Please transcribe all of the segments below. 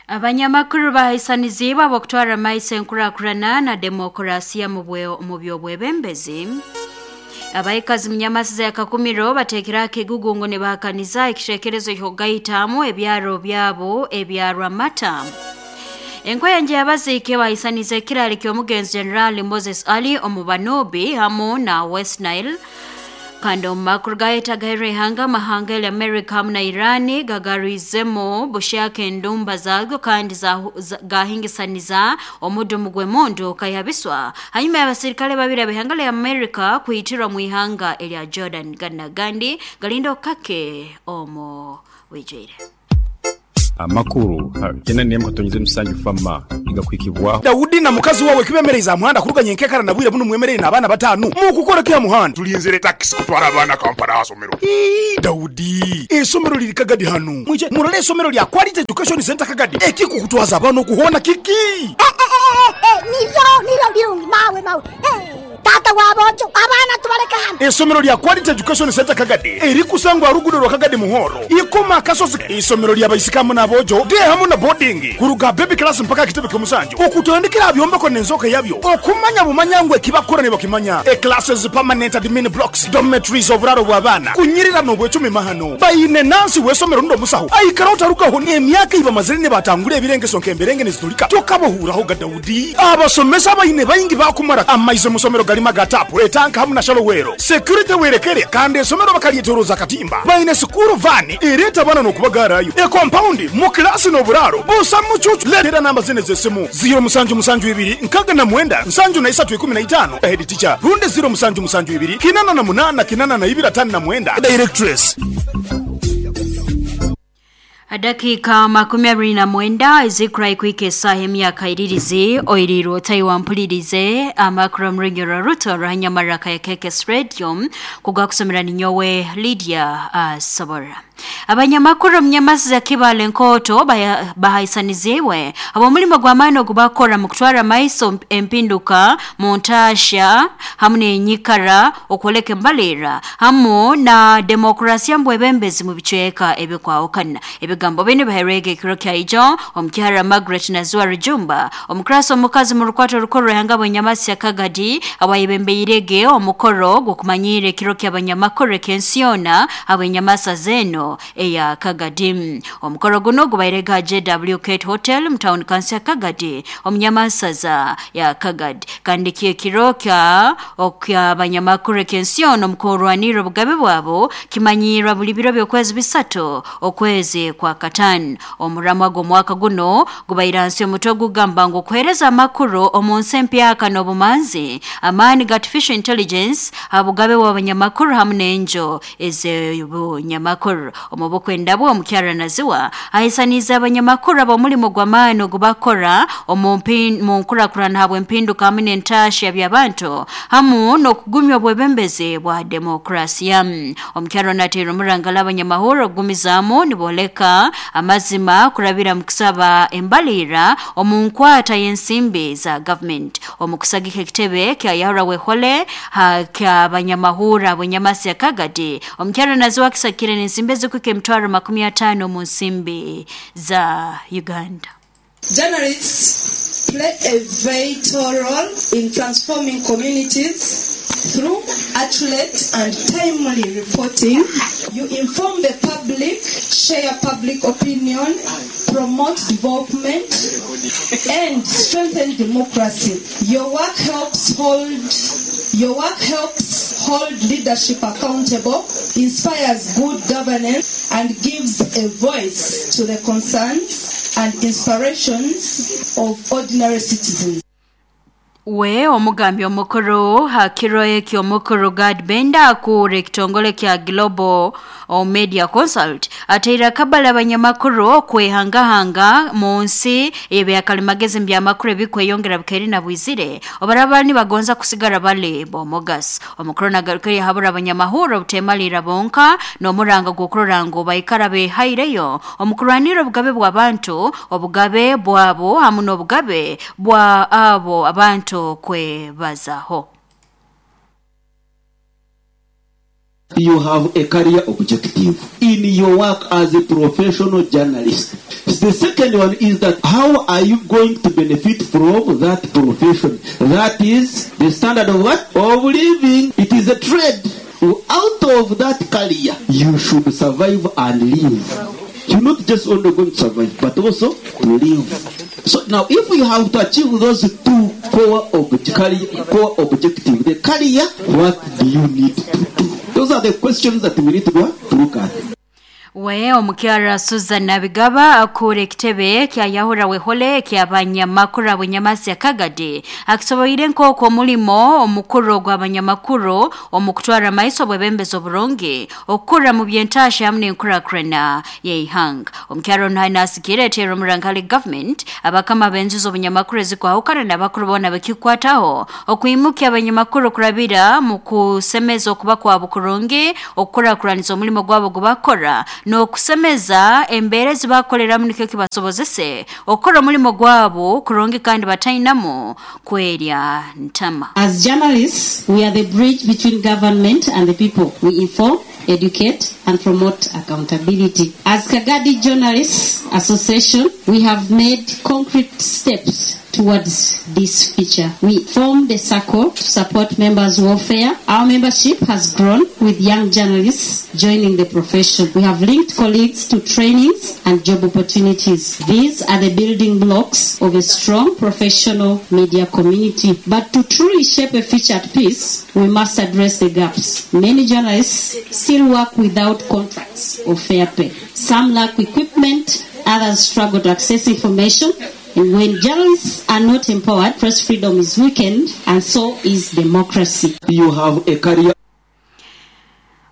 Abanyamakuru bahaisaniziibwe ab'okutwara maiso enkurakurana na demokurasiya mu by'obwebembezi. Abaikazi munyamasiza ya Kakumiro bateekera akigugu ngu nibahakaniza ekiteekerezo ky'okugaitamu ebyaro byabo ebya Rwamata. Enkoyenje y'abaziike bahaisaniza ekirali ky'omugenzi General Moses Ali omu Banobi hamu na West Nile. Kandi omu makuru gayetagairwe ihanga, amahanga eri America hamu na Iran gagarwizemu bushaka endumba zago kandi gahingisaniza omudumu gw'emundu kaihabiswa hanyuma y'abasirikale babiri ab'ihanga lya America kwitirwa mu ihanga erya Jordan. Gandi galinda okukake omu bwijwire. Amakuru 97 fama igakwikibwaho. Daudi na mukazi wawe kibemereize aha muhanda kuruga nyenkekara na bwire bunu mwemereire n'abaana batano mukukora ki aha muhanda? Tulinzire takisi kutwara abaana Kampala aha somero. Ii, Daudi, esomero liri Kagadi hanu. Mwije murole esomero lya Quality Education Center Kagadi. Ekikukutwaza abaana okuhona kiki? Niryo niryo birungi mawe mawe. Tata wabojo abaana tubaleka hano. Esomero lya Quality Education Center Kagadi erikusangwa rugudo rwa Kagadi Muhoro. Ikoma kasozi isomero lya baisikamu n'abojo de hamu na boarding kuruga baby class mpaka kitebe ky'omusanju. Okutandikira byombeko n'enzoka yabyo. Okumanya bumanya ngwe kibakora ne bakimanya. E classes permanent admin blocks, dormitories oburaro bw'abaana. Kunyirira n'obwecumi mahano. Bayine nansi w'esomero ndo musaho. Aikara otarukaho n'emyaka ibamazire ne batangura ebirengeso nk'emberenge nezitulika. Tokabohuraho ga Daudi. Abasomesa bayine bayingi bakumara amaize musomero galima gatapu etanka hamu na shalowero. Security werekere kandi esomero bakalietoroza katimba. Bayine sukuru vani ereta bana n'okubagarayo. E compound mu klasi n'oburaro busa mucucu. Letera namba zine z'esimu 0 7 7 2 69 73 15 head teacher runde 0 7 7 2 88 82 59 directress. Dakika 29 ezikura ikwike esaha emyaka iririzi oirirwe otayiwampulirize amakuru omurunyoro ruto rwanyamaraka ya KKS Radio kugakusomera ninyowe Lydia Sobora. Abanyamakuru omunyamasiza Kibale Nkoto bahaisaniziibwe ab'omulimo gw'amaani ogubakora mu kutwara maiso empinduka mu ntaasha hamu n'enyikara okwoleka embalirira hamu na demokrasiya mbwebembezi mu bicweka ebikwahukana. Ebigambo binu bihairwege ekiro kya ijo omukihara Margaret Nazua Rujumba omukrasi omukazi mu rukwato rukuru ruhanga bw'enyamasi ya Kagadi awayebembeirege omukoro gw'okumanyira ekiro ky'abanyamakuru ek'ensi yoona ab'enyamasa zeno eya Kagadi. Omukoro guno gubairega JW Kate Hotel mu town council ya Kagadi omunyamasaza ya Kagadi. Kandi ekiro kya oky'abanyamakuru ek'ensi yoona omukurwanirra obugabe bwabo kimanyirwa buli biro by'okwezi bisatu okwezi kwa katano. Omuramwa gw'omwaka guno gubaire nsi omutwe gugamba ngu okuheereza amakuru omu nsi empyaka n'obumanzi amaani ga artificial intelligence abugabe bw'abanyamakuru hamu n'enjo ez'obunyamakuru. Omu bukwenda bwe omukyara Naziwa ahisaniza abanyamakuru ab'omulimo gw'amaani ogubakora omu nkurakurana habw'empinduka hamu n'entaasha by'abantu hamu n'okugumya obwebembezi bwa demokrasiya. Omukyara nateera omurangala abanyamahoro okugumizaamu nibooleka amazima kurabira mu kusaba embalirira omu nkwata y'ensimbi za government. Omu kusagika ekitebe kya Yahura Wehole ky'abanyamahura ab'enyamasi ya Kagadi omukyara Naziwa akisakire n'ensimbi ezikuhika emitwaro 50 omu nsimbi za Uganda. Journalists play a vital role in transforming communities through accurate and timely reporting. You inform the public, share public opinion, promote development, and strengthen democracy. Your work helps hold leadership accountable, inspires good governance, and gives a voice to the concerns and inspirations of ordinary citizens. We omugambi omukuru hakiro eki omukuru Gad Benda akura ekitongole kya Global Media Consult ateira kabala abanyamakuru okwehangahanga mu nsi ebyakalimagezi mbyamakuru ebikweyongera bikairi na bwizire obaraba nibagonza kusigara bale bomogas. Omukuru nagarukire habura abanyamahuro obutemalira bonka n'omuranga gw'okurora ngu baikara behaireyo omukurwanira obugabe bw'abantu obugabe bwabo hamu n'obugabe bwa abo abantu kwebazaho. You have a career objective in your work as a professional journalist. The second one is that how are you going to benefit from that profession? That is the standard of what? Of living. It is a trade. Out of that career, you should survive and live. You're not just only going to survive, but also to live. So now, if you have to achieve those two core objectives, the career, what do you need to do? Those are the questions that we need to go to look at. We omukyara Susan Nabigaba akure ekitebe kya Yahura Wehole ky'abanyamakuru abanyamasi ya Kagadi akisoboire nk'okwo omulimo omukuru gw'abanyamakuru omukutwara maiso bwebembezi oburungi okukura mu byentasha hamwe n'enkurakurana y'eihanga. Omukyara ono nasikire etera omurankali government abakama b'enju z'obunyamakuru ezikwahukana n'abakuru boona bekikwataho okwimukya abanyamakuru kurabira mu kusemeza okuba kwabo kurungi okukurakuraniza omulimo gwabo gubakora n'okusemeza embeera ezibakoleramu nikyo kibasobozese okukora omulimo gwabo kurungi kandi batainamu kwerya ntama. As journalists, we are the bridge between government and the people. We inform, educate, and promote accountability. As Kagadi Journalists Association, we have made concrete steps towards this future. We formed a circle to support members' welfare. Our membership has grown with young journalists joining the profession. We have linked colleagues to trainings and job opportunities. These are the building blocks of a strong professional media community. But to truly shape a future at peace, we must address the gaps. Many journalists still work without contracts or fair pay. Some lack equipment, others struggle to access information. And when journalists are not empowered, press freedom is weakened, and so is democracy. You have a career.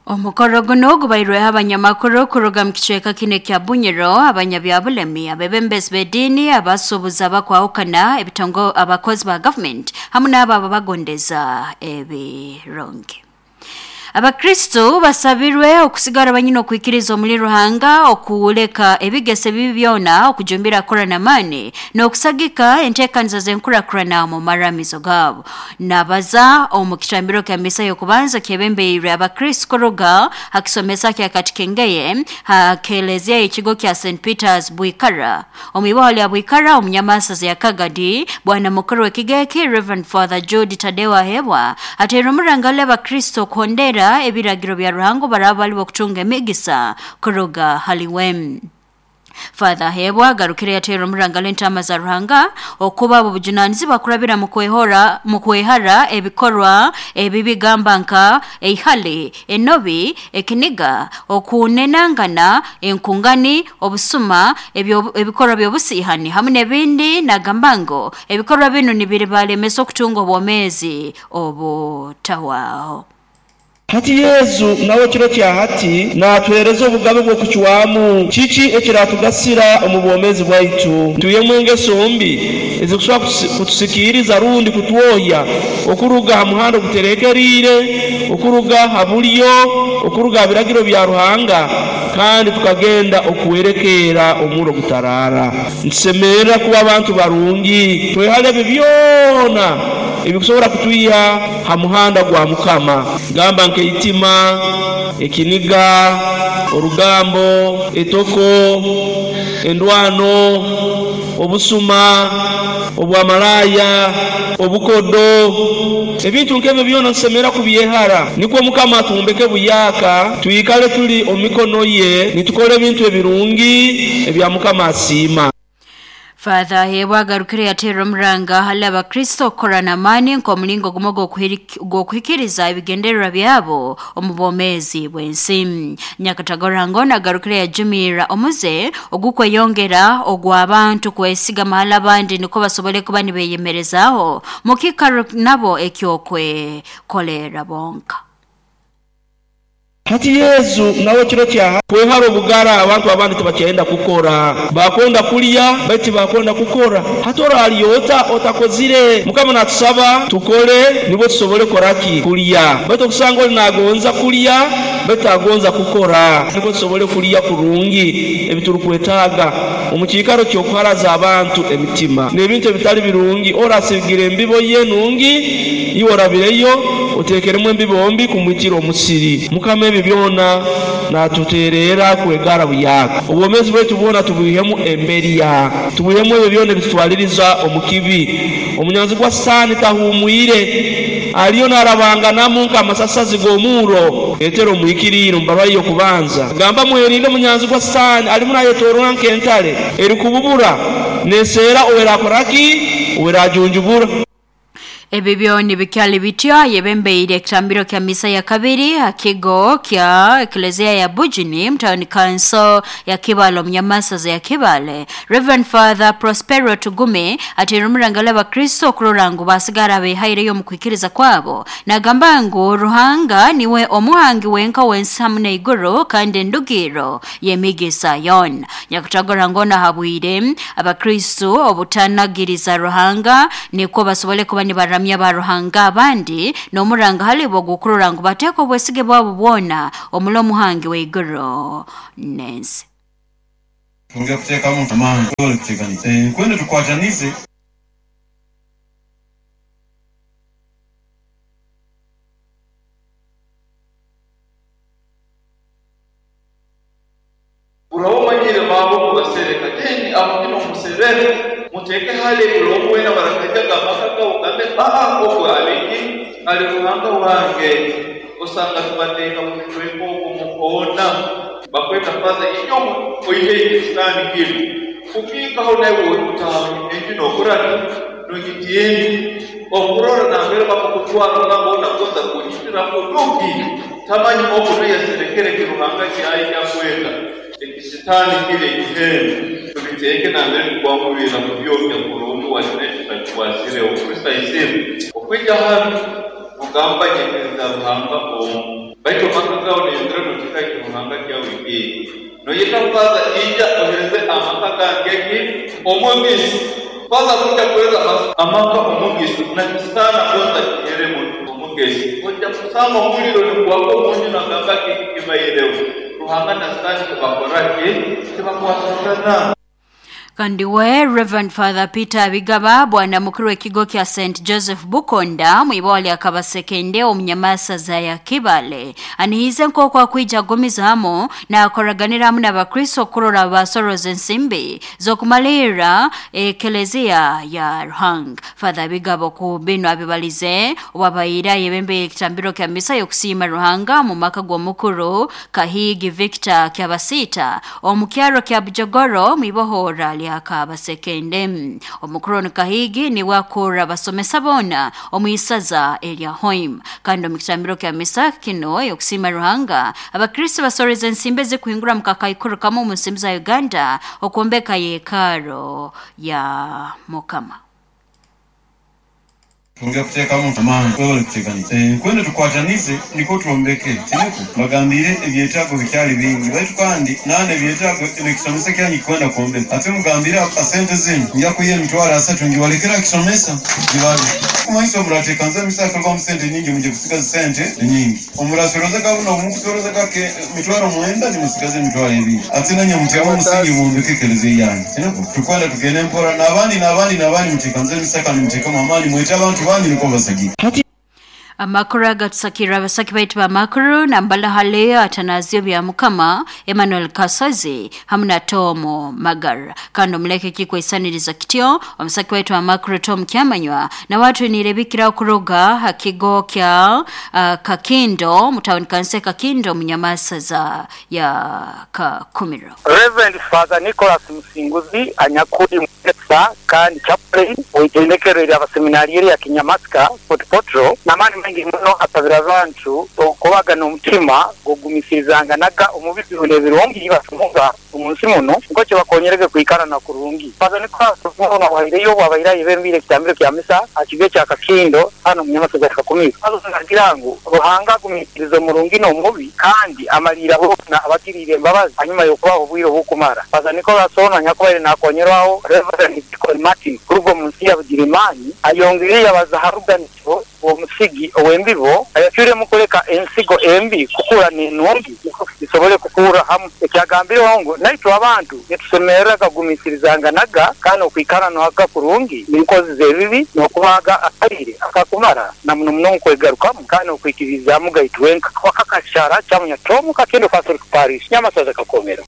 Omukoro guno gubairweho abanyamakuru kuruga mu kicweka kine kya Bunyoro, abanyabyabulemi, abebembezi b'ediini, abasuubuzi abakwahukana, ebitongo abakozi ba government hamwe n'abo ababagondeza ebirungi. Abakristo basabirwe okusigara banyina okwikiriza omuli Ruhanga okuwuleka ebigese bibi byona okujumbira kora n'amaani n'okusagika enteekaniza z'enkurakurana mu maramizo gaabo. Nabaza omu kitambiro kya misa y'okubanza kyebembeirwe Abakristo kuruga hakisomesa kya Katikengeye hakelezia ekigo kya St. Peters Bwikara. Omu iboho lya Bwikara omunyamasaza ya Kagadi bwana mukuru w'ekigeki Reverend Father Jude Tadewa Hebwa ateera omurangale Abakristo kuhondera ebiragiro bya Ruhango baraba bali okutunga emigisa kuruga haliwem. Father Hebwa agarukire yateera omurangalo entama za Ruhanga okuba abo bujunanizibwa kurabira mu kwehara ebikorwa ebibigamba nka eihale, enobi, ekiniga, okunenangana, enkungani, obusuma, ebikorwa by'obusihani hamwe n'ebindi nagambango ebikorwa bino nibiribalemesa okutunga obwomezi obutahwaho. Hati Yesu nawe kiro kya hati natuhereza obugabe bw'okucwamu kiki ekiratugasira omu bwomezi bwaitu. Tuyemu engeso mbi ezikusobola kutusikiriza rundi kutwoya okuruga ha muhanda oguterekerire, okuruga ha bulyo, okuruga ha biragiro bya Ruhanga, kandi tukagenda okuwerekera omuro gutarara. Ntusemerera kuba abantu barungi, twehale ebyo byona ebikusobola kutwiha ha muhanda gwa Mukama. Gamba nkeitima, ekiniga, orugambo, etoko, endwano, obusuma, obwamalaya, obukodo, ebintu nkebyo byona nsemera kubyehara. Nikwo Mukama atumbeke buyaka, tuyikale tuli omikono ye, nitukole ebintu ebirungi ebya Mukama asiima. Father Hebwa agarukire yateera omuranga hali Abakristo okukora n'amaani nk'omulingo gumu gw'okuhikiriza ebigendererwa byabo omu bwomeezi bw'ensi. Nyakatagorangona agarukire yajumirra omuze ogukweyongera ogw'abantu kwesiga mahali abandi niko basobole kuba nibeyemerezaaho mu kiikaro nabo eky'okwekolera bonka. Hati Yesu nawe kiro kya kwehara obugara abantu abandi tibakyenda kukora, bakwenda kulya bati bakwenda kukora. Hatora aliyota otakozire. Mukama natusaba tukole nibwo tusobole koraki kulya. Baitu okusanga oli nagonza kulya Baitu agonza kukora nukwo tusobole kulya kurungi ebiturukwetaaga omu kiikaro ky'okuharaza abantu emitima n'ebintu ebitali birungi. Orasigire embibo ye nungi, iwe orabireyo oteekeremu embibo mbi kumwitira omusiri. Mukama ebi byona naatuteererra kwegara buyaaka. Obwomeezi bwaitu bwona tubwihemu emberya, tubwihemu ebyo byona ebitutwaliriza omu kibi. Omunyanzigwa Sitaani tahuumwire, aliyo naarabanganamu nk'amasasazi g'omurro. Petero omuhikiriire omu bbarwa ye y'okubanza agamba, Mwerinde omunyanzigwa Sitaani alimu naayetoorora nk'entale erukububura, neeserra ou eraakora ki? Ou eraajunjubura. Ebi byona bikyali bityo, ayebembeire ekitambiro kya misa ya kabiri ha kigo kya Eklezia ya Bujuni mu Town Council ya Kibaale omu Nyamasaza ya Kibaale, Rev. Father Prospero Tugume ateire omurangalo Abakristo okurora ngu basigara behaireyo omu kwikiriza kwabo. Nagamba ngu Ruhanga niwe omuhangi wenka w'ensi hamu n'eiguru kandi endugirro y'emigisa yoona. Nyakutagora ngono ahabwire Abakristo obutanagiriza Ruhanga nikwo basobole kuba nibaramya ba Ruhanga abandi n'omuranga halibo ogw'okurora ngu bateeka obwesige bwabo bwona omuli omuhangi w'eiguru n'ensi. Twongere kuteekamu amaani tusobole kuteekaniza enkwenda tukwatanize. Buraba omanyire baaba okubasereka, then aho kinu omusereke, muteeke hale buli omu weena barakaijaga amaka gabu ogambe aa ogu ali ki? Ali Ruhanga wange. Osanga tubateeka mu bitweka okwo mu koona, bakweta Father ija oiheyo ekisitaani kinu. Kukiikaho naiwe orikutaaha enju nokora ki? Nogitiina. Okurora nambere bakukutwara ogamba onu agonza kunyitiramu ruki? Tamanyi ogu nuwe yaserekere eki Ruhanga kyaija kweta ekisitaani kiri ekihembo. Tubiteeke nambere tukwangubirra kubyokya kurungi wakire tutakikwasireho. Kristo aisiime. Okwija hanu nogamba nyikiriza Ruhanga omu. Baitu amaka gawe noyongera noteka eki Ruhanga kyawe ekindi. Noyeta Faaza ija ohereze amaka gange ki? Omugisa. Faaza kwija kuhereza amaka omugisa na kisitaani agonza kiheremu omugisa. Oija kusanga omuliro nigwaka omunju nagamba kiki kibaireho. Ruhanga na Sitaani tibakora ki? Tibakwatangana. Kandi we Rev. Father Peter Bigaba bwana mukuru w'ekigo kya St Joseph Bukonda mu ibwa lya Kabasekende omu Nyamasaza ya Kibaale anihiize nk'oku akwija agumizamu naakoraganira hamu n'Abakristo kurora basoroza ensimbi z'okumalirra Ekelezia ya Ruhanga. Father Bigaba ku binu abibalize obu abaire ayebembeye ekitambiro kya misa y'okusiima Ruhanga mu maka g'omukuru Kahigi Victor Kyabasiita omu kyaro kya Bujogoro mu ibohora lya Kabasekende. Omukuru onu Kahigi niwe akurra abasomesa boona omu isaza erya Hoima. Kandi omu kitambiro kya misa kinu ey'okusiima Ruhanga, Abakristo basoreza ensimbi ezikuhingura mu kakaikuru kamu omu nsimbi za Uganda okwombeka yekaaro ya Mukama. Twongere kuteekamu amaani tusobole kuteekaniza enkwenda tukwatanize nikwo twombeke. Tinukwo mbagambiire ebyetaago bikyali bingi baitu kandi nandi ebyetaago n'ekisomesa kyanyu kikwenda kwombeka. Ate mugambiire ha sente zinu ngya kwiha emitwaro asatu ngibalekere ha kisomesa gibabe. Kumanyisa obu murateekaniza emisa hakarugamu sente nyingi mwije kusigaza sente nyingi. Obu murasorozaga buno obu mukusoroza kake emitwaro mwenda nimusigaza emitwaro ebiri. Ate nanye muteho omusingi mwombeke ekelezia yanyu. Tinukwo tukwenda tugende mpora n'abandi n'abandi n'abandi muteekanize emisa kandi muteekemu amaani mwete abantu banyu nukwo basagike. Amakuru agatusakirra abasaki baitu b'amakuru nambala hali Atanasio Byamukama, Emmanuel Kasozi hamu na Tom Magara. Kandi omuleke kikwaisaniriza kityo omusaki waitu amakuru Tom Kyamanywa na watu nirebikira okuruga ha kigo kya Kakindo mu town council Kakindo mu Nyamasaza ya Kakumiro. Rev. Father Nicholas Musinguzi anyakuli mwegesa kandi Chaplain w'eitendekero ery'abaseminariyo erya Kinyamasika, Fort Portal, n'amaani maingi muno asabire abantu okubaga n'omutima gw'okugumiisirizanganaga omu bizibu n'ebirungi batunga omu nsi munu nikwo kibakonyerege kwikarana kurungi. Father Nicholas obutumwa bunu abuhaireyo obu abaire ayebembeire ekitambiro kya misa aha kigo ekya Kakindo hanu omu Nyamasaza ya Kakumiro. Father naagira ngu Ruhanga agumiisiriza omurungi n'omubi kandi amaliira boona abagiriire embabazi hanyuma y'okubaha obwire obukumara. Father Nicholas onu anyakubaire nakonyerwaho Rev. Deacon Martin kuruga omu nsi ya Bugirimaani ayongeire yabaza ha ruganikyo. omusigi ow'embibo ayacwiremu kuleka ensigo embi kukura n'enungi nukwo zisobole kukurra hamu. Ekyagambireho ngu naitwe abantu nitusemerra kugumiisirizanganaga kandi n'okwikara nohaga kurungi n'enkozi z'ebibi n'okubahaga akaire akakumara na muno muno omu kwegarukamu kandi n'okwikiririzaamuga itwenka. Wakakashara Kyamunya Tom Kakindo Catholic Parish, Nyamasaza Kakomero.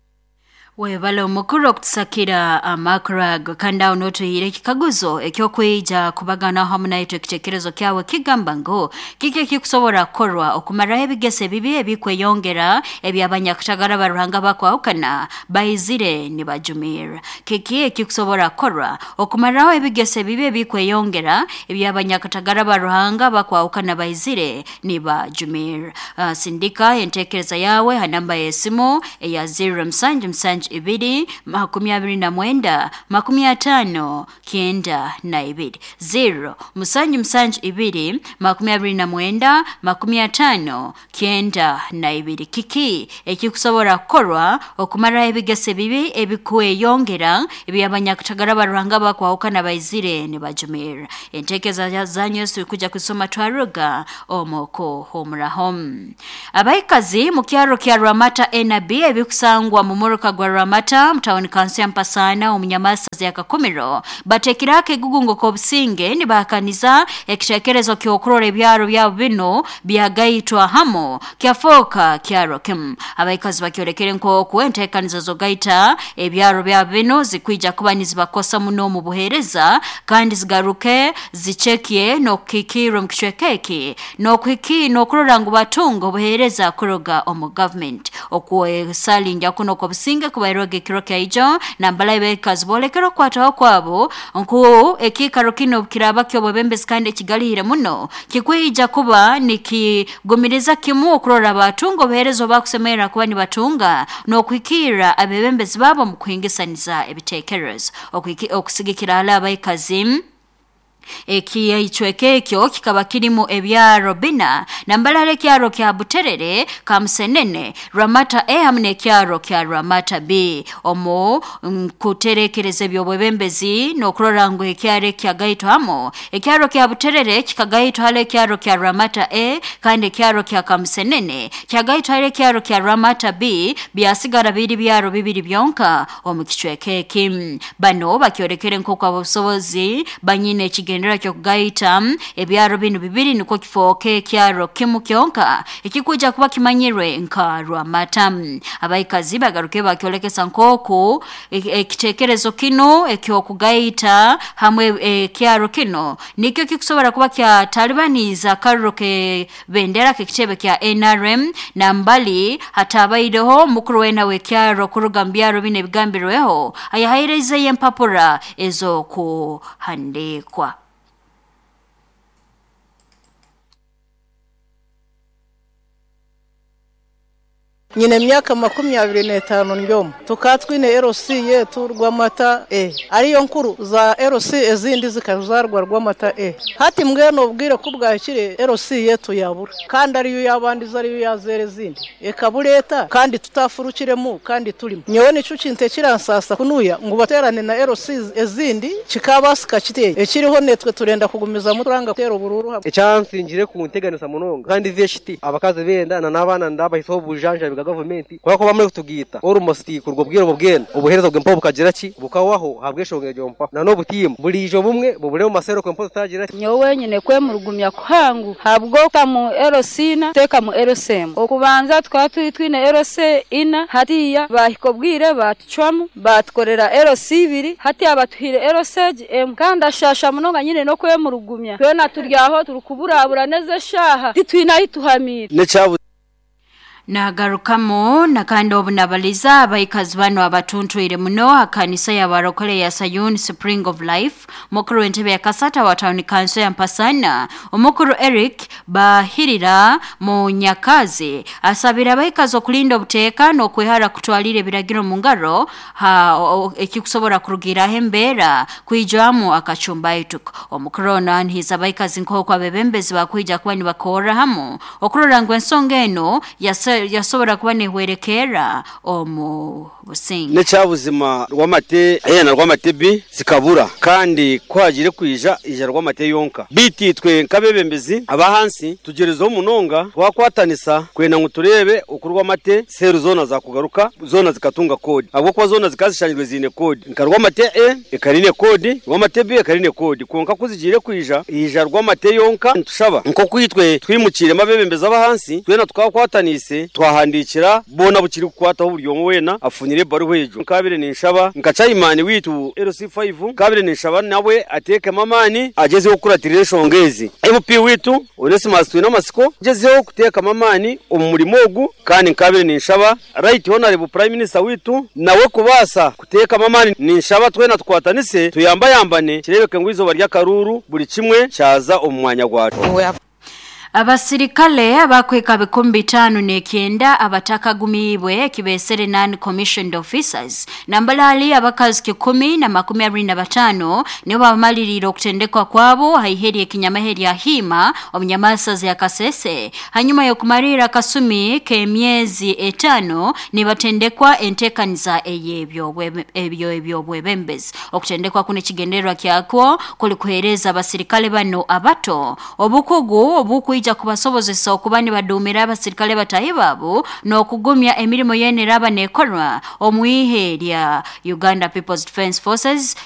Webale omukuru okutusakira amakuru ago kandi aho n'otuhiire ekikaguzo ekyokwija kubaganaho hamu naitwe ekitekerezo kyawe kigamba ngu kiki ekikusobora kukorwa okumaraho ebigeso ebibi ebikweyongera eby'abanyakatagara ba Ruhanga bakwahukana baizire nibajumirra. Kiki ekikusobora kukorwa okumaraho ebigeso ebibi ebikweyongera eby'abanyakatagara ba Ruhanga bakwahukana baizire nibajumirra. Sindika entekereza yawe ha namba y'esimu eya 0 musanju musanju ibiri 29 50 92 0 musanju musanju ibiri 29 50 92. Kiki ekikusobora kukorwa okumaraho ebigeso ebibi ebikweyongera eby'abanyakatagara ba Ruhanga bakwahukana baizire nibajumirra. Entekereza zanyu Yesu kuja kusoma twaruga omukuhumuraho. Abaikazi mu kyaro kya Rwamata NB ebikusangwa mu muruka gwa Rwamata mutawuni kansi ya Mpasana omunyamasazi ya Kakumiro batekirako egugungo k'obusinge nibahakaniza ekitekerezo ky'okurora ebyaro byabo bino byagaitwa hamo kyafoka kyaro kimu. Abaikazi bakyolekere nk'oku enteekaniza zogaita ebyaro byabo bino zikwija kuba nizibakosa muno omu buheereza kandi zigaruke zicekie n'okukikirra omu kicweka eki n'okurora ngu batunga obuheereza kuruga omu gavumenti. Okwesalinja kuno kw'obusinge kubairwega ekiro kyaijo nambala abakazi boolekera okukwataho kwabo nku ekiikaro kino kiraba ky'obwebembezi kandi ekigalihire muno kikwija kuba nikigumiriza kimu okurora batunga obuheereza obakusemerera kuba nibatunga n'okuhikirra abebembezi baabo omu kuhingisaniza ebiteekerezo. Okusigikira hali abaikazi ekicweka ekyo kikaba kirimu ebyaro bina nambalala ekyaro kya Buterere, Kamusenene, Rwamata A hamu n'ekyaro kya Rwamata B. Omu kuterekereza eby'obwebembezi n'okurora ngu ekyaro ekyagaitwa hamo ekyaro kya Buterere kikagaitwa hali ekyaro kya Rwamata A kandi ekyaro kya Kamusenene kyagaitwa hali ekyaro kya Rwamata B byasigara biri byaro bibiri byonka omu kicweka eki. Bano bakyolekere nk'oku abobusobozi banyine ekigendera kyokugaita ebyaro bino bibiri nukwo kifooke ekyaro kimu kyonka ekikuja kuba kimanyirwe nka Rwamata. Abaikazi bagaruke bakyolekesa nk'oku ekitekerezo kino ekyokugaita hamwe ekyaro kino nikyo kikusobora kuba kyatalibaniza akaruro ke bendera k'ekitebe kya NRM nambali hatabaireho mukuru wena w'ekyaro kuruga mu byaro bino ebigambirweho ayahairizeyo empapura ez'okuhandiikwa. Nyine emyaka 25 ndyomu tukatwine LC yetu Rwamata E ariyo nkuru za LC ezindi zikazarwa Rwamata E hati mbweno obwire kubwakire LC yetu yabura kandi ariyo yabandiza ariyo yazere ezindi ekabuleta kandi tutafurukiremu kandi turimo nyowe nico kinte kiransasa kunuya ngo baterane na LC ezindi kikabasika kiteye ekiriho netwe turenda kugumiza muturanga tero bururu ecyansingire ku nteganisa munonga kandi veshiti abakazi benda na nabana ndabahiso bujanja bwa gavumenti kwa ko bamwe kutugita almost kurwo bwiro bubwena obuhereza bw'empo bukagira ki bukawaho habweshongeje mpa na no butimu bulijo bumwe bubule mu masero kwempo tutagira nyowe nyine kwemurugumya kuhangu habwo kamu LC na teka mu LCM okubanza twatwi twine LC ina hatiya bahikobwire batucwamu batukorera LC ibiri hatiya abatuhire LC M kandi ashasha munonga nyine no kwemurugumya twena turyaho turukuburabura neze shaha titwina ituhamira Nagarukamo na kandi obunabaliza abaikazi bano abatuntwire muno akanisa ya barokole ya Sayuni Spring of Life mukuru w'entebe ya Kasata wa Town Council ya Mpasana omukuru Eric Bahirira mu Nyakazi asabira abaikazi okulinda obuteeka n'okwehara kutwalira ebiragiro mu ngaro ekikusobora kurugiraho embeera kwijwamu akachumba ituko. Omukuru ono anhiza abaikazi nk'oku abebembezi bakwija kuba nibakorra hamu okurora ngu ensonga eno yase Yasobora kuba nehwerekerra omu businge. Nekyabuzima Rwamate A na Rwamate B zikabura, kandi kuhagire kwija ija Rwamate yonka. Bitu itwe nk'abebembezi abahansi tugerezeho munonga, twakwatanisa kwenda ngu turebe oku Rwamate seru zona zakugaruka, zona zikatunga kodi, ahabwokuba zona zikazishangirwe ziine kodi. Nka Rwamate A ekarine kodi, Rwamate B ekarine kodi, konka kuzigiire kwija ija Rwamate yonka. Nitushaba nk'oku itwe twimukiremu abebembezi abahansi, twena tukakwatanise, twahandikira bona bukiri kukwataho, buri omwe wena afunyire ebaruha egyo. Nkabire ninshaba nka chairman witu LC5, nkabire ninshaba nawe ateekemu amaani, agezeho kukuratirira enshonga ezi. MP witu Onesimus twine amasiko, agezeho kuteekamu amaani omu murimo ogu. Kandi nkabire ninshaba Right Honorable Prime Minister witu nawe kubaasa kuteekamu amaani. Ninshaba twena tukwatanise, tuyambayambane, kirebeke ngu izooba ry'akaruuru buri kimwe kyaza omu mwanya gwakyo. Abasirikale abakweka 59 abatakagumiibwe, kibesere non commissioned officers, nambalali abakazi 125, nibo bamaliriire okutendekwa kwabo haiheri ekinyamahe lya Hima omunyamasazi ya Kasese, hanyuma y'okumalira akasumi k'emyezi 5 nibatendekwa entekaniza ey'ebyo ebyobwebembezi. Okutendekwa kuno ekigendererwa kyakwo kuli kuheereza abasirikale bano abato obukugu obukwija kubasobozesa okuba nibadumira abasirikale batahi babo n'okugumya emirimo yene eraba nekorwa omwihe lya Uganda People's Defence Forces.